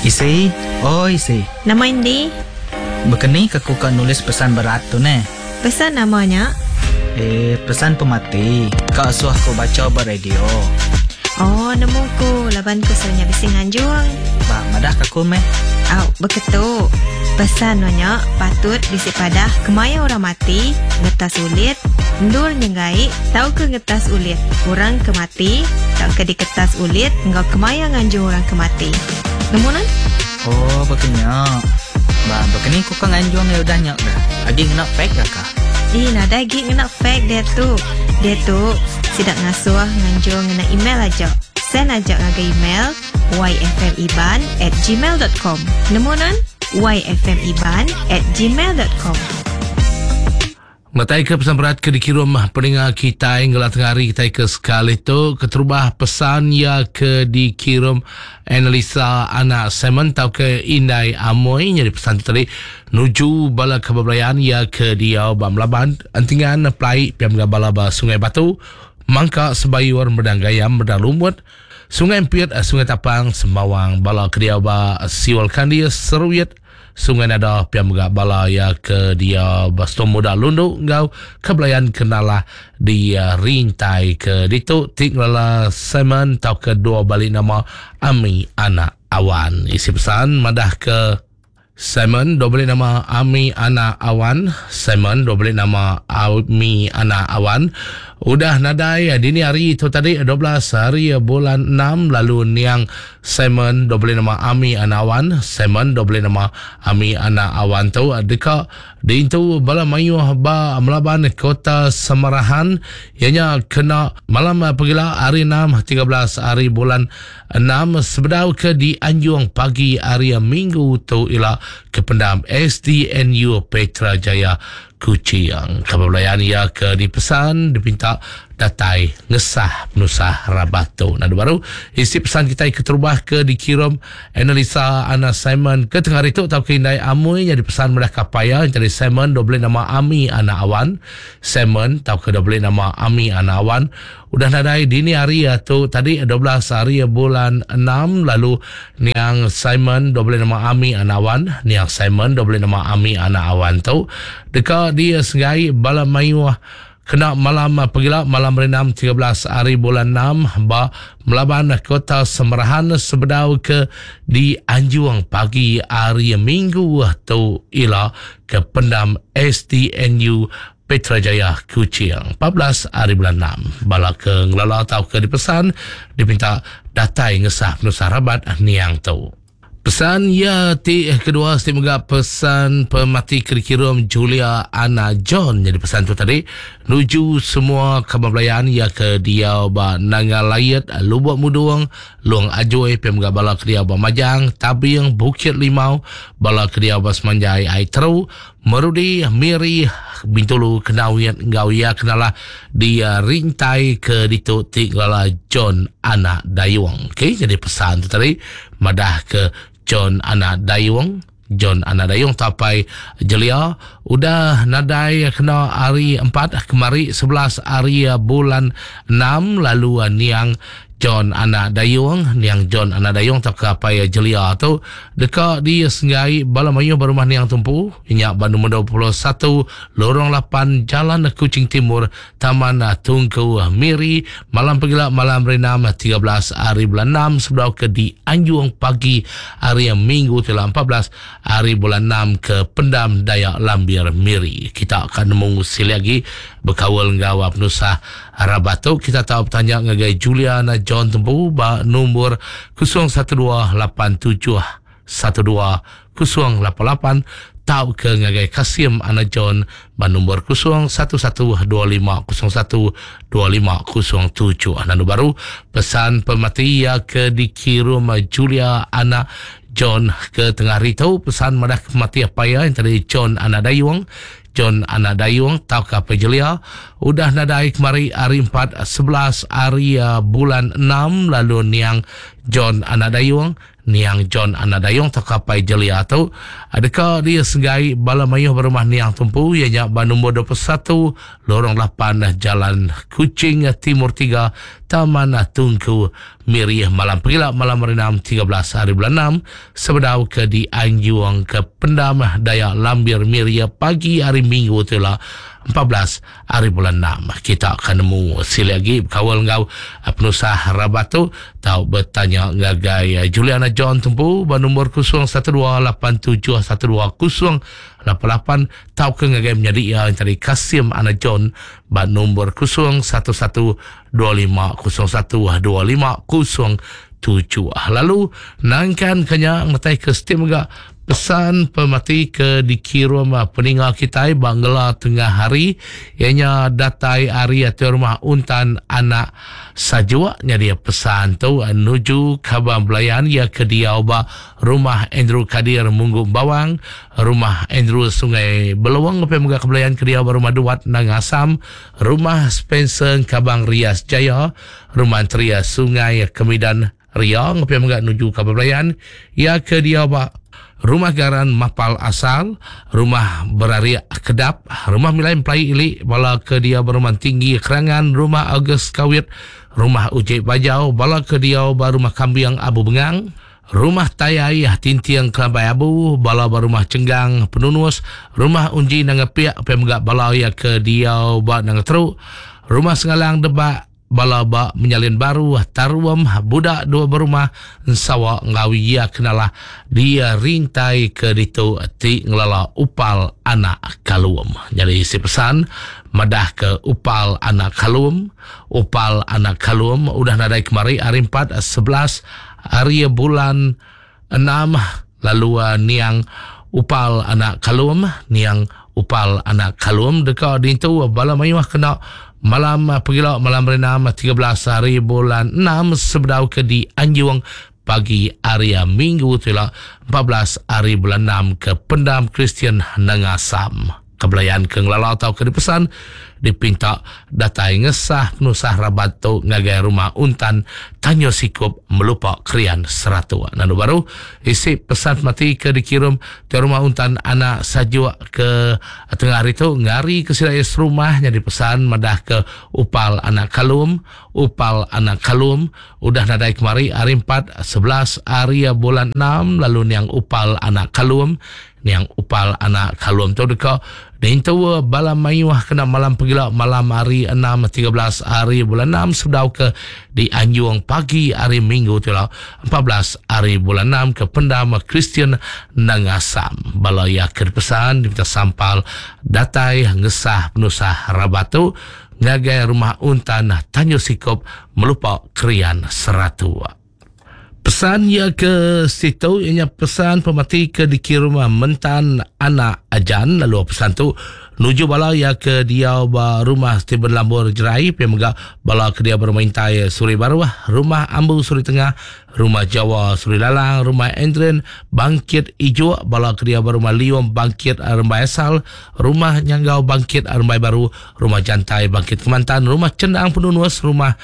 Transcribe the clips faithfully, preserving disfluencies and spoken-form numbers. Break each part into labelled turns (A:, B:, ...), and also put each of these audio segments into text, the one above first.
A: Isi, oi isi.
B: Nama indi?
A: Bekeni ke aku ka nulis pesan berat tu neh.
B: Pesan nama nya?
A: Eh, pesan pemati. Ka asuh aku baca ba radio.
B: Oh, nemu ku laban ku selalu nya bisi nganjung.
A: Ba, madah ka aku meh.
B: Au, beketu. Pesan nya patut bisi padah kemaya orang mati, ngetas ulit, endur nyenggai, tauka ngetas ulit. Orang ke mati, tauka diketas ulit, enggau kemaya nganjung orang ke mati. Nemu nan?
A: Oh, bekenya. Ba, bekeni ku ka nganjung ya udah nya dah. Agi ngena fax dah ka?
B: Ih, nadai agi ngena fax dia tu. Dia tu sidak ngasuh nganjung ngena email aja. Send aja ngagai email y f m iban at gmail dot com. Nemu nan? y f m iban at gmail dot com.
C: Matai ke pesan berat ke dikirim peninga kita ngelah tengah hari kita ke sekali tu keterubah pesan ya ke dikirim Analisa anak Simon tau ke Indai Amoy jadi pesan tu tadi nuju bala kebelayan ya ke dia ba Melaban entingan plai piam bala ba Sungai Batu Mangka Sebayur Medang Gayam Medang Lumut Sungai Empiet Sungai Tapang Sembawang bala ke dia ba Siol Kandi Seruit Sungai Nada piam mega bala ya ke dia Bastom Muda Lundu ngau kebelayan kenalah di uh, rintai ke ditu tik ngelala Simon tau ke dua balik nama Ami Anak Awan. Isi pesan madah ke Simon dua balik nama Ami Anak Awan. Simon dua balik nama Ami Anak Awan. Udah nadai dini hari tu tadi dua belas hari bulan enam lalu niang Simon dua balik nama Ami Anak Awan. Simon dua balik nama Ami Anak Awan tu deka diintu bala mayuh ba Melaban Kota Samarahan ianya kena malam pegila hari enam tiga belas hari bulan enam sebedau ke di Anjung pagi hari Minggu tu ila ke pendam S D N U Petra Jaya Kuching. Khabar belayan ia ke dipesan dipinta datai ngesah penusah rabat tu. Nah, baru isi pesan kita ke terubah ke dikirim Analisa Ana Simon ke tengah hari tu tau ke Indai Amoy yang dipesan melah kapaya jadi Simon dua boleh nama Ami Anak Awan. Simon tau ke dua boleh nama Ami Anak Awan. Udah nadai dini hari tu tadi dua belas hari bulan enam lalu niang Simon dua boleh nama Ami Anak Awan. Niang Simon dua boleh nama Ami Anak Awan tu deka dia senggai bala mayuh kena malam pegila malam enam tiga belas hari bulan enam ba Melaban Kota Semerahan sebedau ke di Anjung pagi hari Minggu tu ila ke pendam S D N U Petra Jaya Kuching empat belas hari bulan enam. Bala ke ngelala atau ke dipesan dipinta datai ngesah penusah rabat niang tu. Pesan ya ti kedua seti mega pesan pemati kirikirum Julia Anna John. Jadi pesan tu tadi nuju semua kabar belayan ya ke dia ba Nanga Layet, Lubuk Mudung, Luang Ajoy, pem mega bala ke dia ba Majang, Tabing, Bukit Limau, bala ke dia ba Semanjai Ai Teru, Merudi, Miri, Bintulu, Kenawit, Ngau ya kenalah di rintai ke ditu ti ngelala John Anak Dayung. Okey, jadi pesan tu tadi madah ke John Anak Dayung. John Anak Dayung tapai jelia udah nadai kena hari empat kemari sebelas hari bulan enam lalu niang John Anak Dayung, niang John Anak Dayung tak kapai jelia tu deka di Senggai bala mayuh berumah niang tumpu inyak ba nombor dua puluh satu Lorong lapan Jalan Kuching Timur Taman Tungku Miri malam pegila malam enam tiga belas hari bulan enam sebelum ke di Anjung pagi hari Minggu telah empat belas hari bulan enam ke Pendam Dayak Lambir Miri. Kita akan nemu sili lagi berkawal ngau penusah Rabatu. Kita tahu bertanya ngagai Juliana John Tembu ba nombor kosong satu dua lapan tujuh satu dua kosong lapan lapan tau ke ngagai Kasim Ana John ba nombor kosong satu satu dua lima kosong satu dua lima kosong tujuh. Nanu baru pesan pemati ya ke dikirim Julia Ana John ke tengah hari tu pesan madah kemati apa ya yang tadi John Ana Dayung. John Anak Dayung tau ke apa jelia udah nadai kemari hari empat sebelas hari uh, bulan enam lalu niang John Anak Dayung, Niang John Anak Dayong atau kapai jelia tu adakah dia senggai bala mayuh berumah Niang Tumpu ianya ba nombor dua puluh satu Lorong lapan Jalan Kuching Timur tiga Taman Tungku Miri malam pegila malam hari enam tiga belas hari bulan enam sebedau ke di Anjuang ke Pendam Dayak Lambir Miri pagi hari Minggu tu lah empat belas hari bulan enam. Kita akan nemu sili lagi berkawal ngau penusah rabat tu tau bertanya ngagai Juliana John Tumpu ba nombor kosong satu dua lapan tujuh satu dua kosong lapan lapan tau ke ngagai menjadi ia yang tadi Kasim Ana John ba nombor kosong satu satu dua lima kosong satu dua lima kosong tujuh. Lalu nangkan kenya ngatai ke steam juga pesan pemati ke dikirim peningal kita Bangla tengah hari ianya datai hari atau rumah Untan Anak Sajuak nya dia pesan tu nuju Kabang Belayan ia ke diau ba rumah Andrew Kadir Munggu Bawang, rumah Andrew Sungai Beluang pe mega kebelayan ke diau ba rumah Duat Nangasam, rumah Spencer Kabang Rias Jaya, rumah Tria Sungai Kemidan Ria pe mega nuju Kabang Belayan ia ke diau ba Rumah Garan Mapal Asal, Rumah Berariak Kedap, Rumah Milai Emplai Ilik, bala ke dia berumah tinggi Kerangan, Rumah Agus Kawit, Rumah Ujik Bajau, bala ke dia berumah Kambiang Abu Bengang, Rumah Tayai Tintiang Kelambai Abu, bala berumah Cenggang Penunus, Rumah Unji Nangapiak, pemegak bala ya ke dia ba Nangateruk, Rumah Sengalang Debak, bala ba menyalin baru taruam budak dua berumah sawa ngawi ya kenalah dia rintai ke ditu ti ngelala upal anak kalum. Jadi si pesan madah ke upal anak kalum, upal anak kalum udah nadai kemari hari empat sebelas hari bulan enam lalu uh, niang upal anak kalum, niang upal anak kalum dekat ditu bala mayuh kena malam pergilah malam berenam tiga belas hari bulan enam sebedau ke di Anjuang pagi hari Minggu tu lah empat belas hari bulan enam ke Pendam Kristian Nangasam. Kebelayan ke ngelala atau ke dipesan dipinta datai ngesah penusah rabat tu ngagai rumah Untan Tanyo Sikup melupa krian seratu. Nanu baru isi pesan mati ke dikirim ke rumah Untan Anak Sajuk ke tengah hari tu ngari ke silai rumah jadi pesan madah ke upal anak kalum, upal anak kalum udah nadai kemari hari empat sebelas hari bulan enam lalu niang upal anak kalum, niang upal anak kalum tu dekat dintu bala mayuh kena malam pegila malam hari enam tiga belas hari bulan enam sebedau ke di Anjuang pagi hari Minggu tu lah empat belas hari bulan enam ke Pendam Kristian Nangasam. Bala ya pesan diminta sampal datai ngesah penusah rabatu ngagai rumah Untan Tanyo Sikop melupa krian seratu. Pesan ya ke situ ianya pesan pemati ke dikirim Mentan Anak Ajan lalu pesan tu nuju bala ya ke dia ba rumah Stephen Lambur Jerai pe mega bala ke dia bermain tai Suri Baru, rumah Ambu Suri Tengah, rumah Jawa Suri Lalang, rumah Endren Bangkit Ijo, bala ke dia berumah Liom Bangkit Rembai Asal, rumah Nyanggau Bangkit Rembai Baru, rumah Jantai Bangkit Kemantan, rumah Cendang Penunus, rumah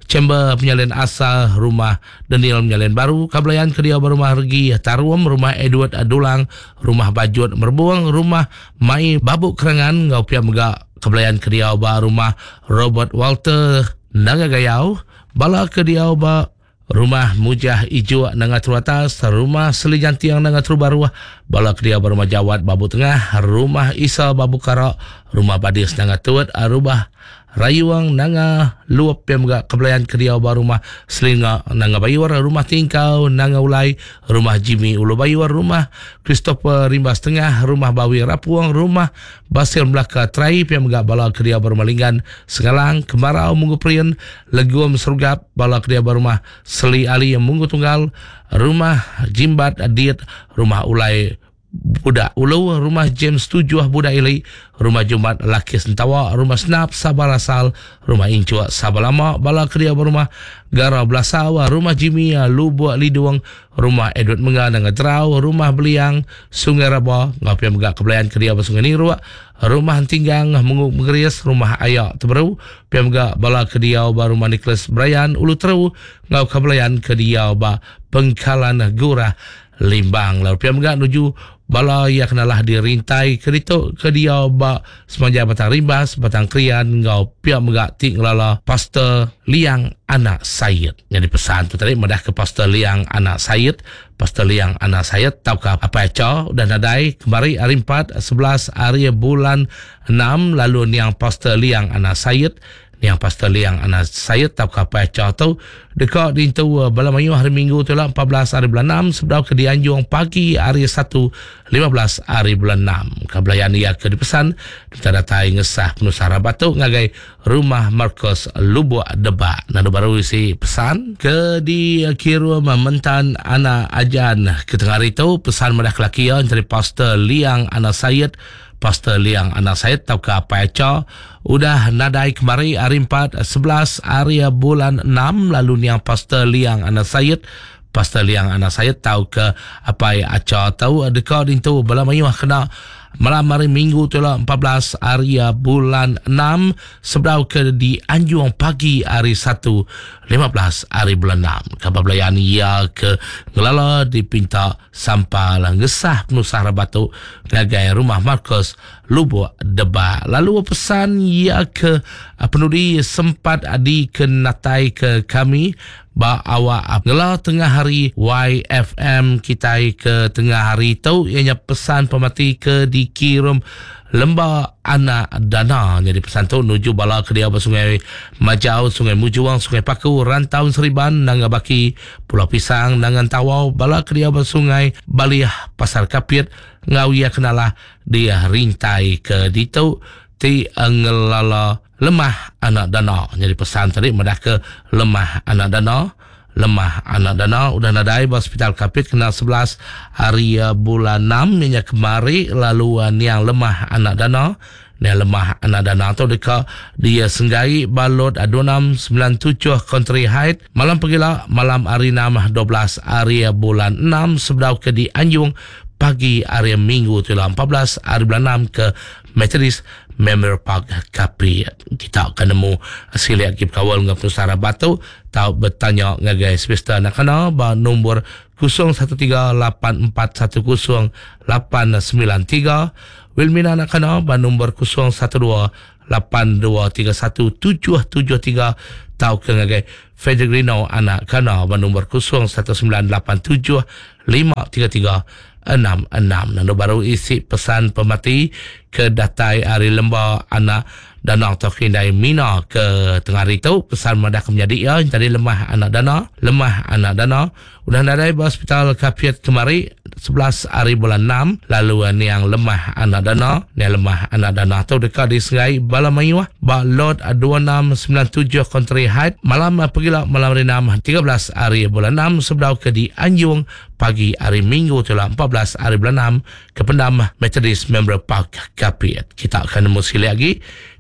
C: Chamber Penyalin Asal, rumah Daniel Penyalin Baru, Kabelayan Kedia Rumah Regi Taruam, rumah Edward Adulang, rumah Bajut Merbuang, rumah Mai Babuk Kerangan, ngau pia mega Kabelayan Kedia ba rumah Robert Walter Naga Gayau, bala Kedia ba rumah Mujah Ijo Nanga Teru Atas, rumah Seli Jantiang Nanga Teru Baru, bala Kedia ba rumah Jawat Babu Tengah, rumah Isa Babu Karak, rumah Badis Nanga Tuat, rumah Rayuang Nanga Luap yang mega Kebelayan Kedia ba rumah Selinga Nanga Bayuar, rumah Tingkau Nanga Ulai, rumah Jimmy Ulu Bayuar, rumah Christopher Rimbas Tengah, rumah Bawi Rapuang, rumah Basil Melaka Trai yang mega bala Kedia ba rumah Linggan Sengalang, Kemarau Munggu Prian, Leguam Serugap, bala Kedia ba rumah Seli Ali yang Munggu Tunggal, rumah Jimbat Adit, rumah Ulai Budak Ulu, Rumah James Tujuh Budak Ili, Rumah Jumat Laki Sentawa, Rumah Senap Sabar Asal, Rumah Incuk Sabar Lama, Bala Keria Berumah Gara Belasau, Rumah Jimmy Lubuk Lidung, Rumah Edward Menga Nanga Terau, Rumah Beliang Sungai Raba, Ngau Pia Mega Kebelayan Keria Bersungai Niruk, Rumah Tinggang Menguk Mengeris, Rumah Ayak Teberu, Pia Mega Bala Kedia ba Rumah Nicholas Brian Ulu Teru, Ngau Kebelayan Kedia ba Pengkalan Gurah Limbang. Lalu pia mega nuju bala yang kenalah dirintai ke ditu ke dia ba semanjai Batang Rimbas, Batang Krian ngau pia mega ti ngelala Pastor Liang Anak Sayed. Jadi pesan tu tadi madah ke Pastor Liang Anak Sayed, Pastor Liang Anak Sayed tauka apa aca udah nadai kemari hari empat sebelas hari bulan enam lalu niang Pastor Liang Anak Sayed. Niang Pastor Liang Anak Sayed tauka apa aca tu dekat dintu bala mayu hari Minggu tu lah empat belas hari bulan enam sebab ke dianjung pagi hari satu lima belas hari bulan enam. Kabelayan ia ke dipesan kita datai ngesah penusah rabatu ngagai rumah Marcos Lubuk Debak. Nadu baru isi pesan ke dikirim mentan anak ajan ke tengah hari tu pesan madah kelaki ya dari Pastor Liang Anak Sayed. Pastor Liang Anak Sayed tauka apa aca udah nadai kemari hari empat sebelas hari bulan enam lalu niang Pastor Liang Anak Sayed. Pastor Liang Anak Sayed tauka apa aca tau dekat dintu bala mayuh kena malam hari Minggu tu lah empat belas hari bulan enam sebab ke di Anjung pagi hari satu lima belas hari bulan enam. Khabar belayan ia ke ngelala dipinta sampah lah ngesah penusah rabatu ngagai rumah Marcos Lubuk Debak. Lalu pesan ia ke penudi sempat dikenatai ke kami ba awak ngela tengah hari Y F M kita ke tengah hari tu ianya pesan pemati ke dikirim Lembah Anak Dana. Jadi pesan tu nuju bala ke dia Sungai Majau, Sungai Mujuang, Sungai Paku, Rantau Seriban, Nanga Baki, Pulau Pisang, Nangan Tawau, bala ke dia Sungai Baliah, Pasar Kapit, ngau ia kenalah dia rintai ke ditu ti ngelala Lemah Anak Dana. Jadi pesan tadi madah ke Lemah Anak Dana. Lemah Anak Dana udah nadai ba hospital Kapit kena sebelas hari bulan enam minyak kemari lalu niang Lemah Anak Dana. Niang Lemah Anak Dana tu dekat dia senggai balot dua enam sembilan tujuh Country Height malam pegila malam hari enam dua belas hari bulan enam sebab ke di Anjung pagi hari Minggu tu lah empat belas hari bulan enam ke Methodist Memorial Park Kapit. Kita akan nemu siliak kip kawal dengan penusara batu tau bertanya ngagai semesta nak kena ba nombor kosong satu tiga lapan empat satu kosong lapan sembilan tiga Wilmina nak kena ba nombor kosong satu dua lapan dua tiga satu tujuh tujuh tiga tau ke ngagai Federico anak kena ba nombor kosong satu sembilan lapan tujuh lima tiga tiga enam enam. Nando baru isi pesan pemati ke datai hari Lembah Anak Dana atau Kindai Mina ke tengah hari tu pesan madah ke menjadi ya tadi Lemah Anak Dana. Lemah Anak Dana udah nadai ba hospital Kapit kemari sebelas hari bulan enam lalu niang Lemah Anak Dana. Niang Lemah Anak Dana tu dekat di Sungai Bala Mayuah ba lot dua enam sembilan tujuh Country Height malam pergilah malam hari enam tiga belas hari bulan enam sebab ke di Anjung pagi hari Minggu tu lah empat belas hari bulan enam ke pendam Methodist Memorial Park Kapit. Kita akan nemu sekali lagi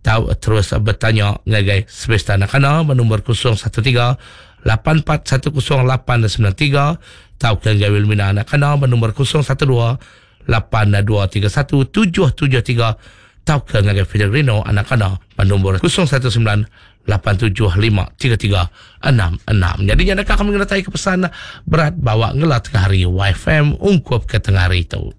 C: tahu terus bertanya ngagai semesta nak kena nombor kosong satu tiga lapan empat satu kosong lapan sembilan tiga tahu ke ngagai Wilmina nak kena nombor kosong satu dua lapan dua tiga satu tujuh tujuh tiga tahu ke ngagai Federino anak kena nombor kosong satu sembilan lapan tujuh lima tiga tiga enam enam. Jadi jangan kami ngeretai ke pesan berat bawa ngelat ke hari Y F M ungkup ke tengah hari itu.